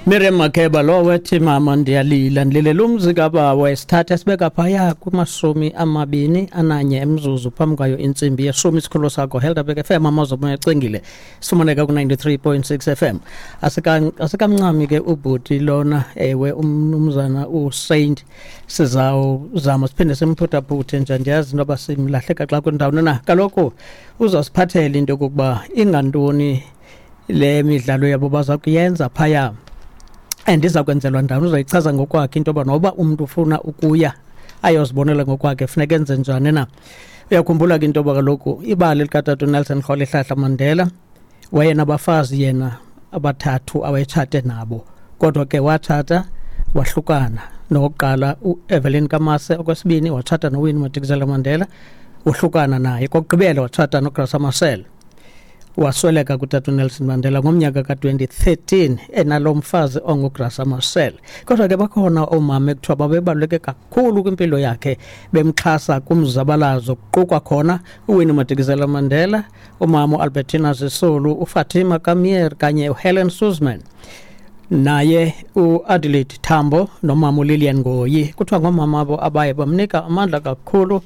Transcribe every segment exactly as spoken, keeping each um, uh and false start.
Miriam Makeba lo wethi mama ndiyalila ndililela umzi kabawo esithatha sibeka phaya kumashumi amabini ananye emzuzu phambi kwayo intsimbi yeshumi. Isikhululo sakho Helderberg F M, amazobo ecingile, sifumaneka ku ninety-three point six F M. Asikamncami ke ubhuti lona, ewe umnumzana uSaint, sizawuzama siphinde simphuthaphuthe nje, ndiyazi into yoba simlahleka xa kwindawo na. Kaloku uzawusiphathela into yokokuba ingantoni le midlalo yabo baza kuyenza phaya, and iza kwenzelwa ndawoni. Uzoyichaza ngokwakhe into yoba noba umntu ufuna ukuya ayozibonela ngokwakhe funeka enze njani na. Uyakhumbula ke into yoba kaloku ibali likatata uNelson Rolihlahla Mandela, wayenabafazi yena abathathu awayetshate nabo, kodwa ke watshata wahlukana nowokuqala uEvelyn Kamase, okwesibini watshata noWinnie Madikizela Mandela, wohlukana naye, kokugqibela watshata noGraça Machel. Wasweleka kutata uNelson Mandela ngomnyaka ka twenty thirteen enalo mfazi onguGraça Machel. Kodwa ke bakhona oomama ekuthiwa babebaluleke kakhulu kwimpilo yakhe, bemxhasa kumzabalazo, kuqukwa khona uWinnie Madikizela Mandela, umama uAlbertina Sisulu, uFatima Kamier kanye uHelen Suzman, naye uAdelaide Tambo nomama uLillian Ngoyi. Kuthiwa ngoomama abo abaye bamnika amandla kakhulu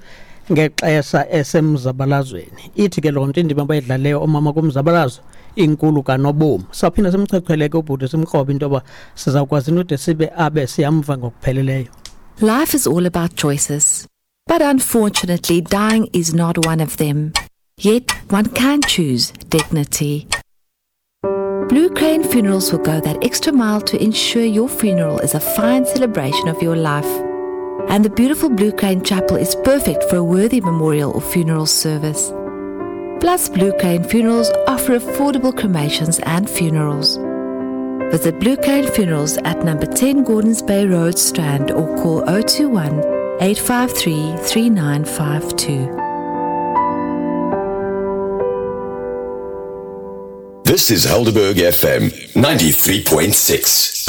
ngexesha esemzabalazweni. Ithi ke loo nto indima abayidlaleyo oomama kumzabalazo inkulu kanobomi. Sawuphinda simchwechwele ke ubhuti, simkrobe into yoba sizawukwazi inode sibe abe siyamva ngokupheleleyo. Life is all about choices, but unfortunately dying is not one of them. Yet one can choose dignity. Blue Crane Funerals will go that extra mile to ensure your funeral is a fine celebration of your life. And the beautiful Blue Crane Chapel is perfect for a worthy memorial or funeral service. Plus, Blue Crane Funerals offer affordable cremations and funerals. Visit Blue Crane Funerals at number ten Gordons Bay Road, Strand, or call oh two one, eight five three, three nine five two. This is Helderberg F M ninety-three point six.